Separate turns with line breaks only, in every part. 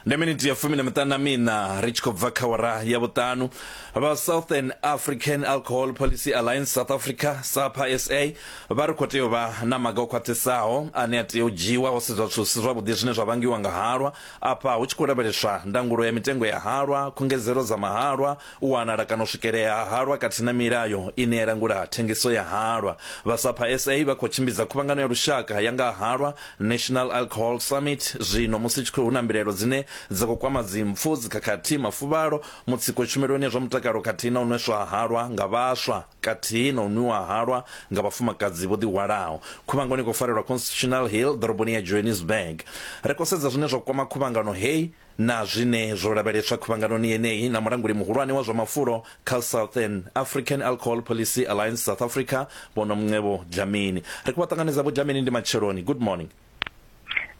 Ndi miniti ya fumi na miṱanu na miṋa ri tshi khou bva kha wara ya vhuṱanu. Vha Southern African Alcohol Policy Alliance South Africa, SAPA SA, vha ri khou tea u vha na maga o khwaṱhisaho ane a tea u dzhiiwa ho sedzwa zwithu zwi si zwavhuḓi zwine zwa vhangiwa nga halwa. Afha hu tshi khou lavheleswa ndangulo ya mitengo ya halwa, khungedzelo dza mahalwa, u wanala kana u swikelea ha halwa khathihi na milayo ine ya langula thengiso ya halwa. Vha SAPA SA vha khou tshimbidza khuvhangano ya lushaka ya nga ha halwa, National Alcohol Summit, zwino musi tshi khou hu na mbilaelo dzine dza khou kwama dzimpfu, dzikhakhathi, mafuvhalo, mutsiko tshumeloni ya zwa mutakalo khathihi na u nweswa ha halwa nga vhaswa kathihi na u nwiwa ha halwa nga vhafumakadzi vho ḓihwalaho. Khuvhangano i khou farelwa Constitutional Hill ḓoroboni ya Johannesburg. Ri khou sedza zwine zwa kwama khuvhangano hei na zwine zwo lavheleswa khuvhanganoni yeneyi na mulanguli muhulwane wa zwa mafulo kha Southern African Alcohol Policy Alliance South Africa, Vho Nomcebo Dlamini. Ri khou vha ṱanganedza Vho Dlamini, ndi matsheloni. Good morning.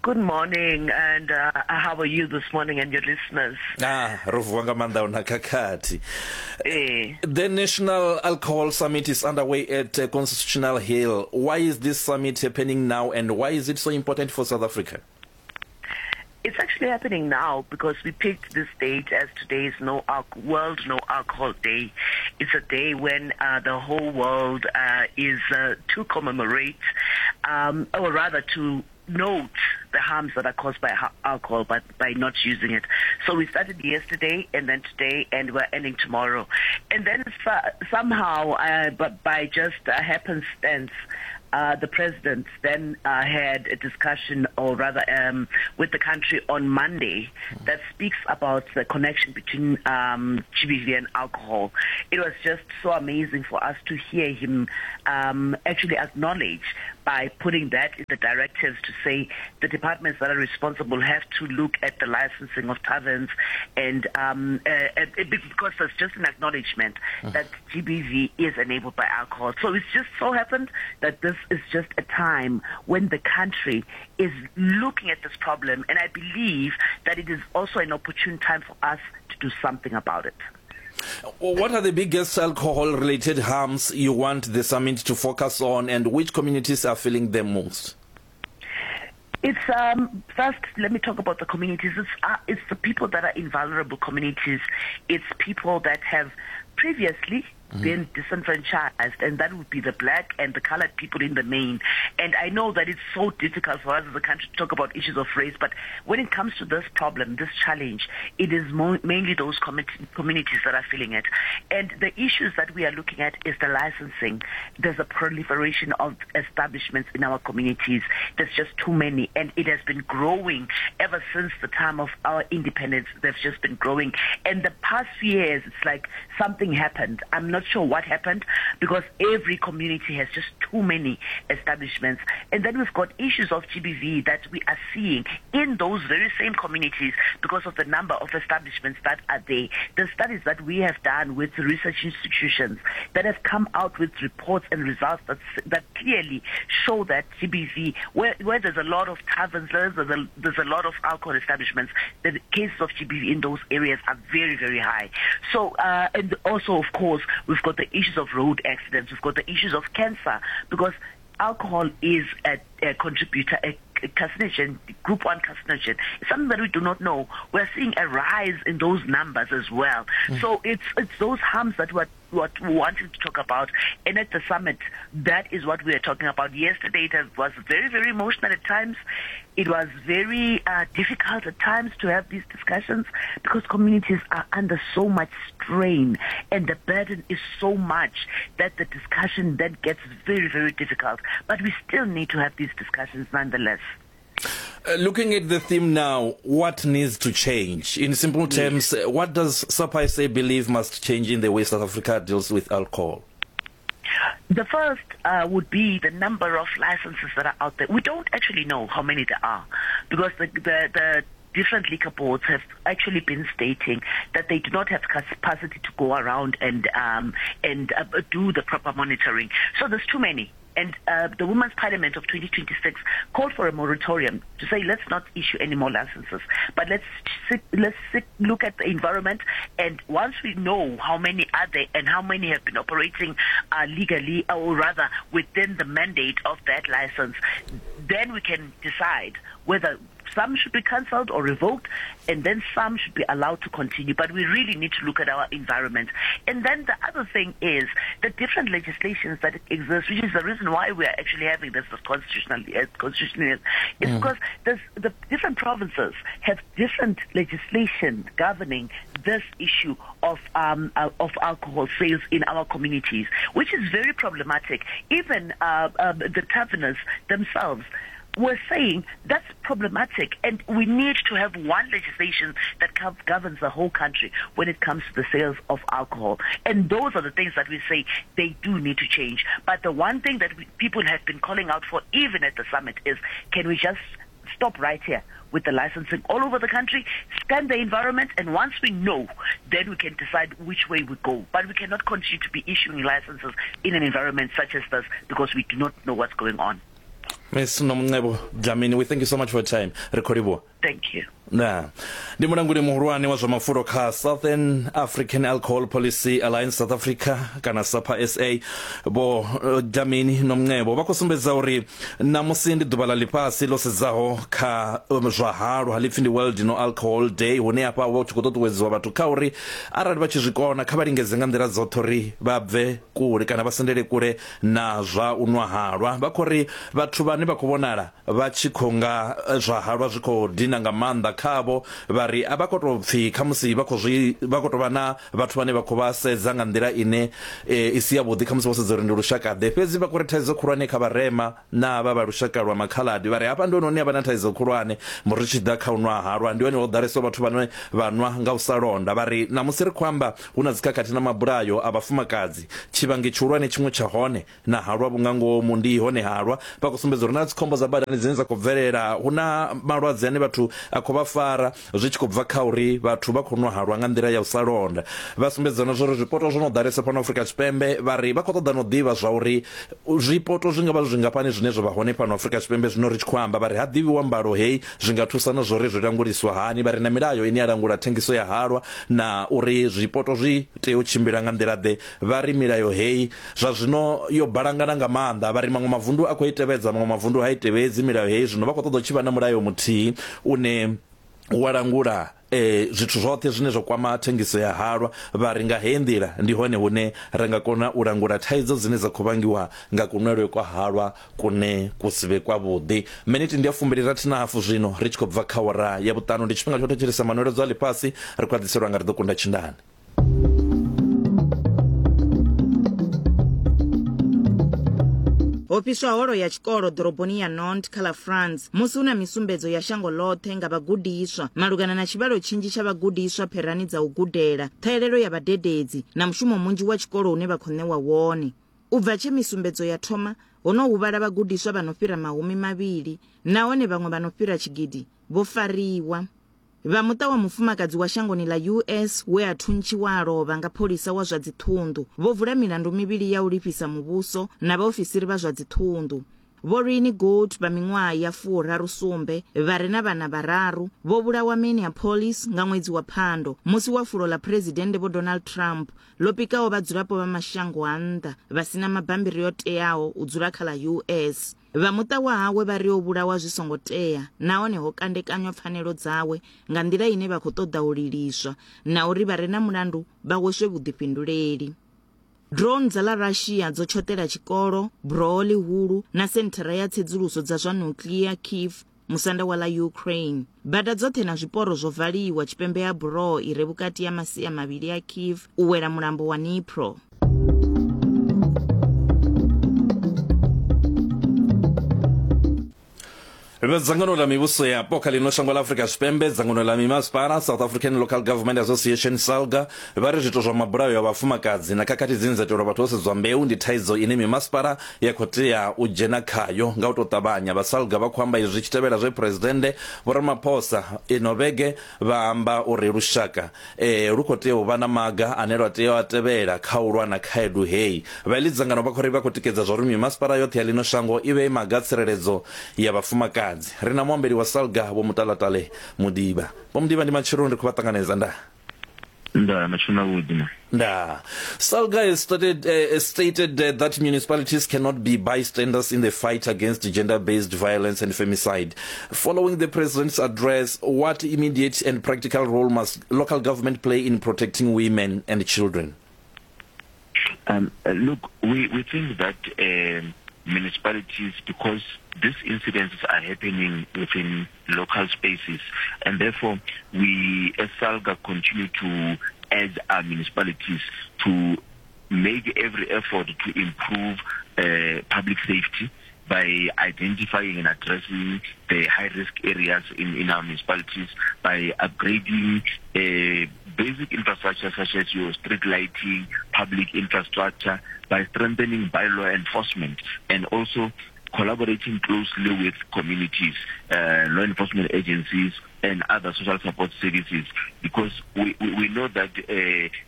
Good morning, and how are you this morning and your listeners?
Ah, ro vuwa nga maanḓa una khakhathi.
Eh.
The National Alcohol Summit is underway at Constitutional Hill. Why is this summit happening now and why is it so important for South Africa?
It's actually happening now because we picked this date as today's no World No Alcohol Day. It's a day when the whole world is to commemorate, or rather to note the harms that are caused by alcohol, but by not using it. So we started yesterday and then today, and we're ending tomorrow. And then somehow, but by just happenstance, the president then had a discussion, or rather with the country on Monday, that speaks about the connection between GBV and alcohol. It was just so amazing for us to hear him actually acknowledge by putting that in the directives to say the departments that are responsible have to look at the licensing of taverns, and because there's just an acknowledgement that GBV is enabled by alcohol. So it's just so happened that this is just a time when the country is looking at this problem, and I believe that it is also an opportune time for us to do something about it.
What are the biggest alcohol-related harms you want the summit to focus on, and which communities are feeling them most?
First, let me talk about the communities. It's the people that are in vulnerable communities. It's people that have previously been disenfranchised, and that would be the black and the colored people in the main. And I know that it's so difficult for us as a country to talk about issues of race, but when it comes to this problem, this challenge, it is mainly those communities that are feeling it. And the issues that we are looking at is the licensing. There's a proliferation of establishments in our communities. There's just too many, and it has been growing ever since the time of our independence. They've just been growing. And the past few years, it's like something happened. I'm not sure what happened, because every community has just too many establishments. And then we've got issues of GBV that we are seeing in those very same communities because of the number of establishments that are there. The studies that we have done with research institutions that have come out with reports and results that clearly show that GBV, where there's a lot of taverns, there's a lot of alcohol establishments, the cases of GBV in those areas are very, very high. And also, of course, we've got the issues of road accidents, we've got the issues of cancer, because alcohol is a contributor, a carcinogen, group 1 carcinogen. It's something that we do not know. We're seeing a rise in those numbers as well. So it's those harms that we're what we wanted to talk about. And at the summit, that is what we are talking about. Yesterday, it was very, very emotional at times. It was very difficult at times to have these discussions because communities are under so much strain and the burden is so much that the discussion then gets very, very difficult. But we still need to have these discussions nonetheless.
Looking at the theme now, what needs to change? In simple terms, what does SAPA SA believe must change in the way South Africa deals with alcohol?
The first would be the number of licenses that are out there. We don't actually know how many there are because the different liquor boards have actually been stating that they do not have capacity to go around and do the proper monitoring. So there's too many. And the Women's Parliament of 2026 called for a moratorium to say, let's not issue any more licenses, but let's look at the environment. And once we know how many are there and how many have been operating legally, or rather within the mandate of that license, then we can decide whether Some should be cancelled or revoked, and then some should be allowed to continue. But we really need to look at our environment. And then the other thing is the different legislations that exist, which is the reason why we are actually having this constitutional, constitutional is mm. because the different provinces have different legislation governing this issue of um, of alcohol sales in our communities, which is very problematic. Even uh, um, the taverners themselves were saying that's problematic and we need to have one legislation that governs the whole country when it comes to the sales of alcohol. And those are the things that we say they do need to change. But the one thing that we, people have been calling out for, even at the summit, is can we just stop right here with the licensing all over the country, scan the environment, and once we know, then we can decide which way we go. But we cannot continue to be issuing licenses in an environment such as this because we do not know what's going on.
Ms Nomcebo Dlamini, we thank you so much for your time. Ri khou livhuwa.
Thank you.
Na ndi mulanguli muhulwane wa zwa mafulo kha Southern African Alcohol Policy Alliance South Africa kana SAPA SA vho eh, Dlamini Nomcebo vha khou sumbedza uri ṋamusi ndi ḓuvha ḽa ḽifhasi ḽo sedzaho kha um, zwa halwa ḽi pfi ndi World No Alcohol Day hune hafha hu tshi khou ṱuṱuwedziwa vhathu kha uri arali vha tshi zwi kona kha vha lingedze nga nḓila dzoṱhe uri vha bve kule kana vha sendele kule na zwa u nwa halwa. Vha khou ri vhathu vhane vha khou vhonala vha tshi khou nga zwa halwa zwi khou dina nga maanḓa khavho, vha ri a vha khou tou pfi khamusi vha khou zwi vha khou tou vha na vhathu vhane vha khou vha sedza nga nḓila ine i si yavhuḓi, khamusi vho sedza uri ndi lushaka-ḓe. Fhedzi vha khou ri thaidzo khulwane kha vharema na havha vha lushaka lwa makhaladi, vha ri hafha ndi hone hune ha vha na thaidzo khulwane ri tshi ḓa kha u nwa halwa, ndi hone ho ḓalesaho vhathu vhane vha nwa nga u sa londa. Vha ri ṋamusi ri khou amba hu na dzikhakhathi na mabulayo a vhafumakadzi. Tshivhangi tshihulwane tshiṅwe tsha hone na halwa vhu nga ngomu ndi hone halwa. Vha khou sumbedza uri na dzikhombo dza badani dzine dza khou bvelela, hu na malwadze ane vhathu a khou vha fara zwi tshi khou bva kha uri vhathu vha khou nwa halwa nga nḓila ya u sa londa. Vha sumbedza na zwa uri zwipoto zwo no ḓalesa fhano Afrika Tshipembe, vha ri vha khou ṱoḓa na u ḓivha zwa uri zwipoto zwi nga vha zwi zwingafhani zwine zwa vha hone fhano Afrika Tshipembe zwino ri tshi khou amba. Vha ri ha ḓivhiwa mbalo hei zwi nga thusa na zwa uri zwi languliswa hani. Vha ri na milayo ine ya langula thengiso ya halwa na uri zwipoto zwi tea u tshimbila nga nḓila-ḓe. Vha ri milayo heyi zwa zwino yo balangana nga maanḓa. Vha ri maṅwe mavundu a khou i tevhedza, maṅwe mavundu ha i tevhedzi milayo heyi. Zwino vha khou ṱoḓa hu tshi vha na mulayo muthihi une wa langula zwithu zwoṱhe zwine zwa kwama thengiso ya halwa. Vha ri nga heyi nḓila ndi hone hune ra nga kona u langula thaidzo dzine dza khou vhangiwa nga kunwelwe kwa halwa kune ku si vhe kwavhuḓi. Miniti ndi ya fumbili rathi na hafu zwino ri tshi khou bva kha awara ya vhuṱanu. Ndi tshifhinga tsha u thetshelesa manweledzo a ḽifhasi. Ri khou a ḓiselwa nga Ri Ḓo Kunda Tshindane.
Ho fhiswa holo ya tshikolo ḓoroboni ya Nantes kha ḽa France musi hu na misumbedzo ya shango ḽoṱhe nga vhagudiswa malugana na tshivhalo tshinzhi tsha vhagudiswa pherani dza u gudela, ṱhahelelo ya vhadededzi na mushumo munzhi wa tshikolo une vha khou ṋewa wone. U bva tshe misumbedzo ya thoma, ho no huvhala vhagudiswa vha no fhira mahumi mavhili nahone vhaṅwe vha no fhira tshigidi vho fariwa. Vha muṱa wa mufumakadzi wa shangoni ḽa US we a thuntshiwa a lovha nga pholisa wa zwa dziṱhunḓu vho vula milandu mivhili ya u lifhisa muvhuso na vhaofisiri vha zwa dziṱhunḓu. Vho Rini Gould vha miṅwaha ya furaru sumbe vha re na vhana vhararu vho vhulawa Minneapolis nga ṅwedzi wa Phando musi wa fulo ḽa Phresidennde Vho Donald Trump ḽo pikaho vhadzulapo vha mashango a nnḓa vha si na mabambiri o teaho u dzula kha ḽa US. Vha muṱa wa hawe vha ri o vhulawa zwi songo tea nahone ho kandekanywa pfanelo dzawe nga nḓila ine vha khou ṱoḓa u liliswa na uri vha re na mulandu vha hweswe vhuḓifhinduleli. Drone dza ḽa Russia dzo tshoṱela tshikolo, buroho ḽihulu na senthara ya tsedzuluso dza zwa nuclear Kyiv, musanda wa ḽa Ukraine. Bada dzoṱhe na zwiporo zwo valiwa tshipembe ha buroho i re vhukati ha masia mavhili a Kyiv u wela mulambo wa Dnipro.
Vha dzangano ḽa mivhuso yapo kha ḽino shango ḽa Afrika Tshipembe, dzangano ḽa mimasipala, South African Local Government Association, SALGA, vha ri zwiito zwa mabulayo a vhafumakadzi na khakhathi dzine dza itelwa vhathu vho sedzwa mbeu ndi thaidzo ine mimasipala ya khou tea u dzhena khayo nga u tou ṱavhanya. Vha SALGA vha khou amba izwi zwi tshi tevhela zwe Phresidennde Vho Ramaphosa ino vhege vha amba uri lushaka e, lu khou tea u vha na maga ane lwa tea u a tevhela kha u lwa na khaedu heyi. Vha iḽi dzangano vha khou ri vha khou tikedza zwa uri mimasipala yoṱhe ya ḽino shango i vhee maga a tsireledzo ya vhafumakadzi. Ri na muambeli wa SALGA Vho Mutalatale Mudiba. Vho Mudiba, ndi matsheloni, ri khou vha ṱanganedza. Ndaa.
Ndaa, matsheloni avhuḓi ma.
Ndaa. Salga has started, stated that municipalities cannot be bystanders in the fight against gender-based violence and femicide. Following the president's address, what immediate and practical role must local government play in protecting women and children?
Look, we, we think that municipalities, because these incidences are happening within local spaces, and therefore we as SALGA continue to urge our municipalities to make every effort to improve public safety by identifying and addressing the high-risk areas in, in our municipalities, by upgrading basic infrastructure such as your street lighting, public infrastructure, by strengthening bylaw enforcement, and also collaborating closely with communities, law enforcement agencies, and other social support services, because we, we, we know that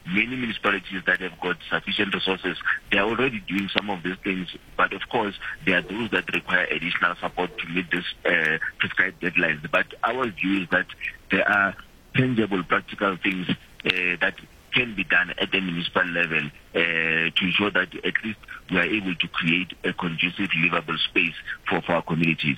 many municipalities that have got sufficient resources, they are already doing some of these things, but of course there are those that require additional support to meet these prescribed deadlines. But our view is that there are tangible, practical things that can be done at the municipal level to ensure that at least we are able to create a conducive, livable space for, for our communities.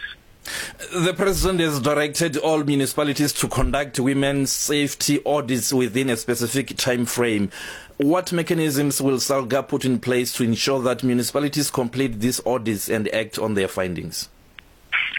The president has directed all municipalities to conduct women's safety audits within a specific time frame. What mechanisms will SALGA put in place to ensure that municipalities complete these audits and act on their findings?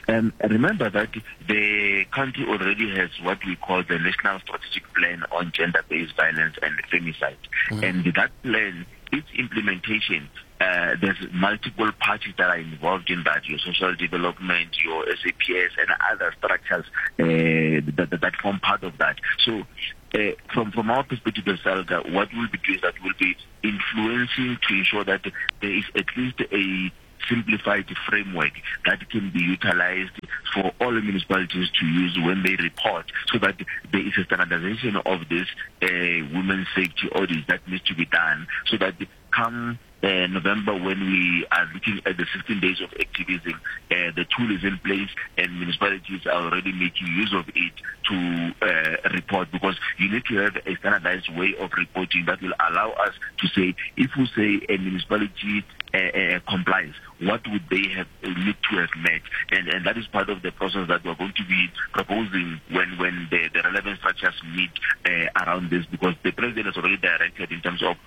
Remember that the country already has what we call the National Strategic Plan on Gender-Based Violence and Femicide. And that plan, its implementation, there's multiple parties that are involved in that, your social development, your SAPS, and other structures that, that form part of that. So from, from our perspective as SALGA, what we'll be doing is that we'll be influencing to ensure that there is at least a simplified framework that can be utilized for all municipalities to use when they report, so that there is a standardization of this women's safety audit that needs to be done, so that come November, when we are looking at the 16 days of activism, the tool is in place and municipalities are already making use of it to report, because you need to have a standardized way of reporting that will allow us to say, if we say a municipality complies, what would they have need to have met? And, and that is part of the process that we're going to be proposing when, when the, the relevant structures meet around this, because the president has already directed in terms of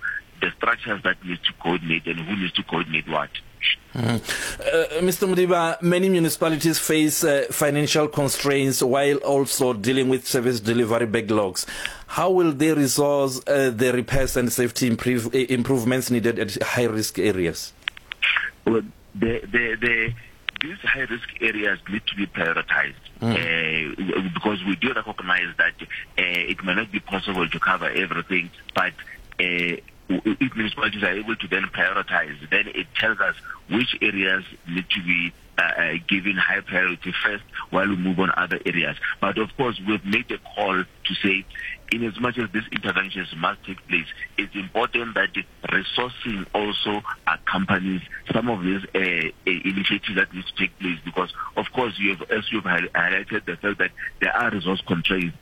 the structures that need to coordinate and who needs to coordinate what.
Mr. Modiba, many municipalities face financial constraints while also dealing with service delivery backlogs. How will they resource the repairs and safety improvements needed at high-risk areas?
Well, the, the, the, these high-risk areas need to be prioritized. Because we do recognize that it may not be possible to cover everything, but if municipalities are able to then prioritize, then it tells us which areas need to be given high priority first while we move on other areas. But of course, we've made a call to say, in as much as these interventions must take place, it's important that resourcing also accompanies some of these initiatives that need to take place, because, of course, you have, as you've highlighted, the fact that there are resource constraints.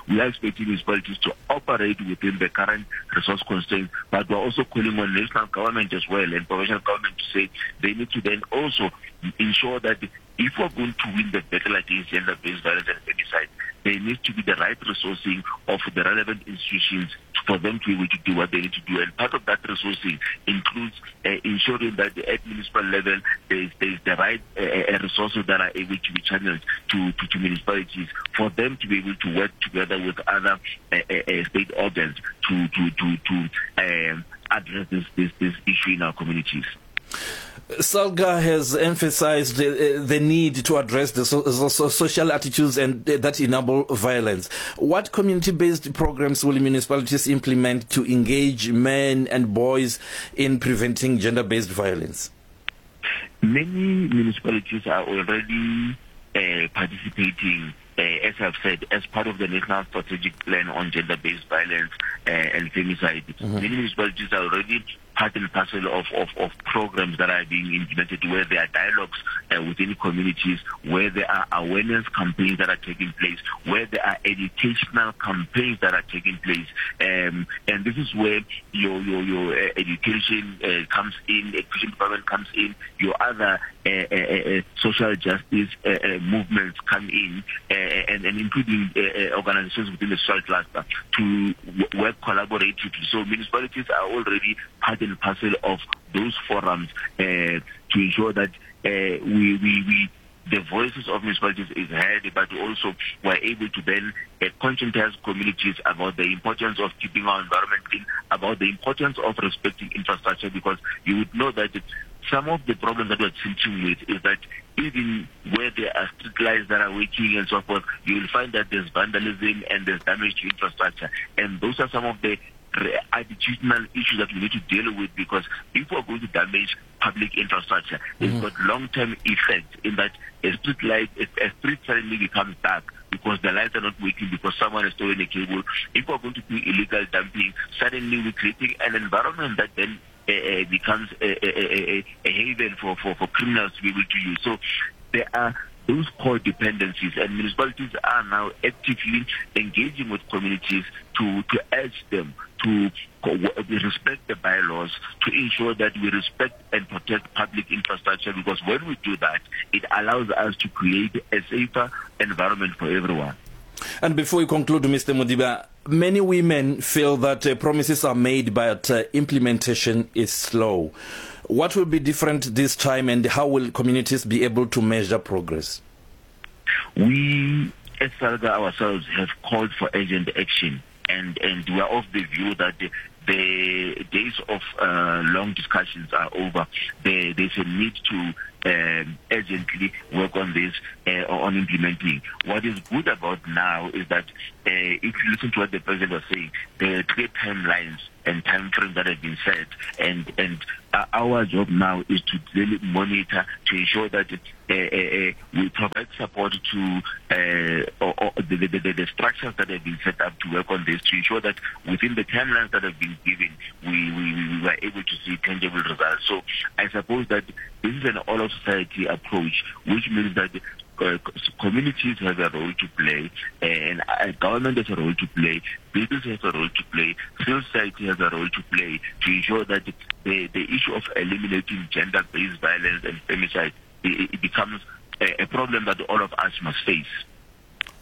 We are expecting municipalities to operate within the current resource constraints, but we're also calling on national government as well and provincial government to say they need to then also ensure that if we're going to win the battle against gender-based violence and femicide, there needs to be the right resourcing of the relevant institutions for them to be able to do what they need to do. And part of that resourcing includes ensuring that at municipal level there is, there is the right resources that are able to be channeled to, to, to municipalities for them to be able to work together with other state organs to, to, to, to address this, this, this issue in our communities.
SALGA has emphasized the need to address the so social attitudes and that enable violence. What community-based programs will municipalities implement to engage men and boys in preventing gender-based violence?
Many municipalities are already participating, as I've said, as part of the National Strategic Plan on Gender-Based Violence and Femicide. Many municipalities are already part and parcel of, of, of programs that are being implemented where there are dialogues uh, within communities, where there are awareness campaigns that are taking place, where there are educational campaigns that are taking place. Um, and this is where your, your, your uh, education uh, comes in, education department comes in, your other uh, uh, uh, uh social justice uh, uh, movements come in, uh, and, and including uh, uh, organizations within the social cluster to work collaboratively. So municipalities are already part and parcel of those forums uh, to ensure that uh, we, we, we the voices of municipalities is heard, but also we're able to then uh, conscientize communities about the importance of keeping our environment clean, about the importance of respecting infrastructure, because you would know that some of the problems that we're dealing with is that even where there are street lights that are working and so forth, you will find that there's vandalism and there's damage to infrastructure. And those are some of the attitudinal issues that we need to deal with because if we're going to damage public infrastructure, mm. it's got long-term effects in that a street light, a street suddenly becomes dark because the lights are not working because someone has stolen a cable. If we're going to do illegal dumping, suddenly we're creating an environment that then uh, becomes a, a, a, a haven for, for, for criminals to be able to use. So there are those core dependencies and municipalities are now actively engaging with communities to, to urge them to respect the bylaws, to ensure that we respect and protect public infrastructure because when we do that, it allows us to create a safer environment for everyone.
And before we conclude, Mr. Modiba, many women feel that uh, promises are made but uh, implementation is slow. What will be different this time and how will communities be able to measure progress?
We, as SALGA ourselves, have called for urgent action and, and we are of the view that the, the days of uh, long discussions are over. There, there's a need to um, urgently work on this, uh, on implementing. What is good about now is that uh, if you listen to what the president was saying, there are clear timelines and time frames that have been set, and and uh, our job now is to really monitor to ensure that uh, uh, uh, we provide support to uh, or, or the, the, the, the structures that have been set up to work on this to ensure that within the timelines that have been given, we, we, we were able to see tangible results. So I suppose that this is an all of society approach, which means that uh, communities have a role to play, and uh, government has a role to play, business has a role to play, civil society has a role to play to ensure that the, the issue of eliminating gender-based violence and femicide it, it becomes a, a problem that all of us must face.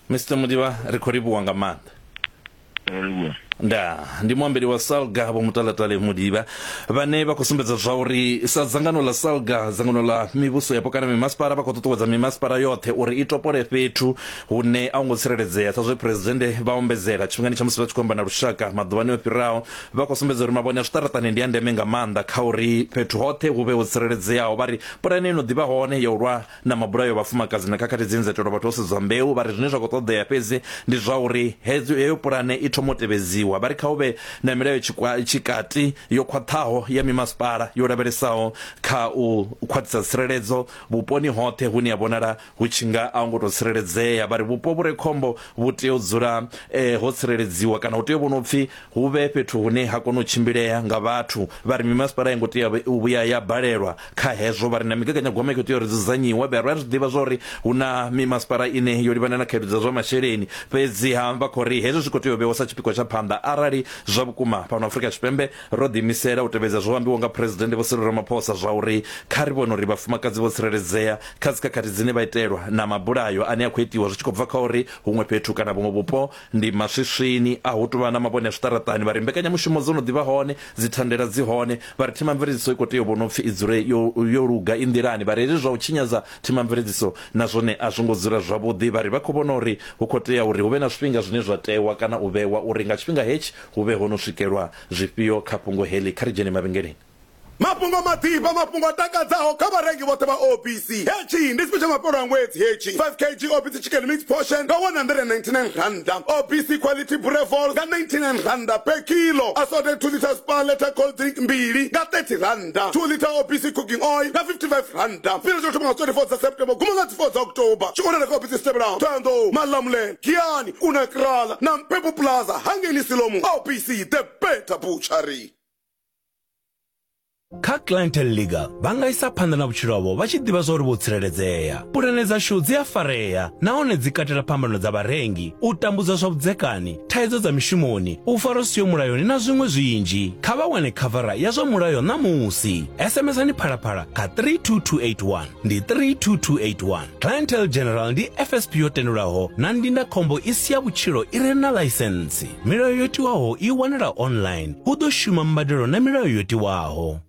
Mr Mudiba ri khou livhuwa nga maanḓa. Nda ndi muambeli wa Salga Vho Mutalatale Mudiba vhane vha khou sumbedza zwa uri sa dzangano ḽa Salga dzangano ḽa mivhuso yapo kana mimasipala vha khou ṱuṱuwedza mimasipala yoṱhe uri i topole fhethu hune a hu ngo tsireledzea sa zwe phuresidennde vha ombedzela tshifhingani tsha musi vha tshi khou amba na lushaka maḓuvhani o fhiraho vha khou sumbedza uri mavhone a zwiṱaraṱani ndi a ndeme nga maanḓa kha uri fhethu hoṱhe hu vhe ho tsireledzeaho vha ri pulane ino ḓivha hone ya u lwa na mabulayo a vhafumakadzi na khakhathi dzine dza itelwa vhathu vho sedzwa mbeu vha ri zwine zwa khou ṱoḓea fhedzi ndi zwa uri heyo pulane i thoma u tevhedziwa vha ri kha hu vhe na milayo tshikati yo khwaṱhaho ya mimasipala yo lavhelesaho kha u khwaṱhisa tsireledzo vhuponi hoṱhe hune ya vhonala hu tshi nga a hu ngo tou tsireledzea vha ri vhupo vhu re khombo vhu tea u dzula eh, ho tsireledziwa kana hu tea u vhona u pfhi hu vhe fhethu hune ha kona u tshimbilea nga vhathu vha ri mimasipala i ngo tea u vhuya ya balelwa kha hezwo vha ri na migaganyagwama i khou tea uri dzudzanyiwe vha ri zwi ḓivha zwa uri hu na mimasipala ine yo livhana na khaedu dza zwa masheleni fhedziha vha khou ri hezwo zwi khou tea u vhewa sa tshipikwa tsha phanḓa arali zwa vhukuma fhano Afrika Tshipembe ro ḓiimisela u tevhedza zwo ambiwaho nga Phresidennde Vho Cyril Ramaphosa zwa uri kha ri vhone uri vhafumakadzi vho tsireledzea kha dzikhakhathi dzine vha itelwa na mabulayo ane a khou itiwa zwi tshi khou bva kha uri huṅwe fhethu kana vhuṅwe vhupo ndi maswiswini a hu tou vha na mavhone a zwiṱaraṱani vha ri mbekanyamushumo dzo no ḓi vha hone dzithandela dzi hone vha ri themamveledziso i khou tea u vhona upfi i dzule yo, yo luga i nḓilani vha ri hezwi zwa u tshinyadza themamveledziso na zwone a zwo ngo dzula zwavhuḓi vha ri vha khou vhona uri hu khou tea uri hu vhe na zwifhinga zwine zwa tewa kana u vhewa uri nga tshifhinga hetshi hu vhe ho no swikelwa zwifhio kha fhungo heḽi kha ri dzhene mavhengeleni.
Mafhungo maḓifha, mafhungo a takadzaho kha vharengi vhoṱhe vha OBC. Hetshi ndi tshifhe tsha mafhelo a ṅwedzi hetshi. 5 kg OBC chicken mix portion nga R199. OBC quality boerewors nga R99 per kilo. Assorted 2 litre Spar liter cold drink mbili nga R30. 2 litre OBC cooking oil nga R55. Tshifhinga tsha u thoma nga 24 dza September guma nga dzi 4 dza October. Tshi wanala kha OBC Stebelaho, Thohoyandou, Malamulele, Giyani,
Kha Clientele Legal vha nga isa phanḓa na vhutshilo havho vha tshi ḓivha zwa uri vho tsireledzea. Pulane dzashu dzi a farea nahone dzi katela phambano dza vharengi, u tambudzwa zwa vhudzekani, thaidzo dza mishumoni, u farwa zwi siho mulayoni na zwiṅwe zwinzhi. Kha vha wane khavara ya zwa mulayo ṋamusi. SMSani Phalaphala kha 32281. Ndi 32281. Clientele General ndi FSP yo tendelwaho na ndindakhombo i si ya vhutshilo i re na ḽaisentsi. Milayo yo tiwaho i wanala online. Hu ḓo shuma mbadelo na milayo yo tiwaho.